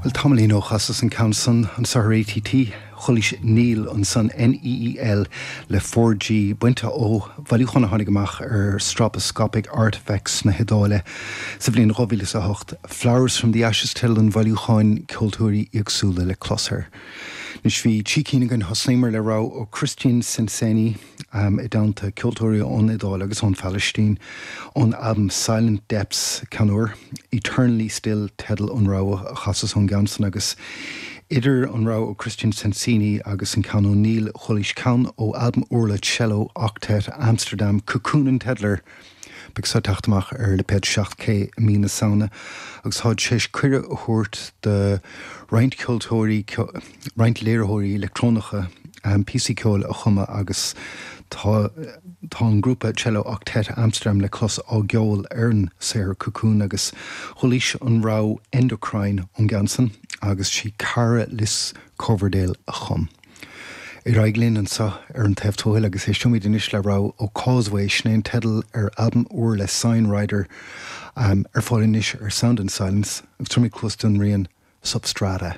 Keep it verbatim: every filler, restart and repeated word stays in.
Well tamaillín ó chasas an ceann san anseo ar ATT chualaís Neel ansan NEEL le four G bainte ó bhailiúchán a tháinig amach ar Stroboscopic Artifex na hIodáile sa bhliain dhá mhíle a hocht Flowers from the Ashes teideal an bhailiúcháin ceoltóirí éagsúla le clos air. Anois bhí trí cinn againn thosnaíomar le rogha ó Christian Sensini um, i dteannta ceoltóirí ón Iodáil agus ón Phalaistín ón album Silent Depths ceann úr, Eternally Still teideal an rogha a chasas ón gceann san agus idir an rogha ó Christian Sensini agus an ceann ó Neel chualaís ceann ó album úr le Cello Octet Amsterdam Cocoon an teideal air. Beidh seo ag teacht amach ar lipéad seacht K i mí na Samhna agus táid tar éis cuireadh a thabhairt do roinnt ceoltóirí roinnt léiritheoirí leictreonacha um, píosaí ceoil a chumadh agus tá tá an grúpa Cello Octet Amsterdam le clos á gceol ar an saothar Cocoon agus chualaís an rogha Endocrine ón gceann san agus sí Cara Liz Coverdale a chum. Ar aghaidh linn anseo ar an taobh tuathail agus éisteoimid anois le rogha ó Causeway sin é an teideal ar albam úr le Signrider um, ar fáil anois ar Sound and Silence agus tabharfaimid cluas don rian Substrata.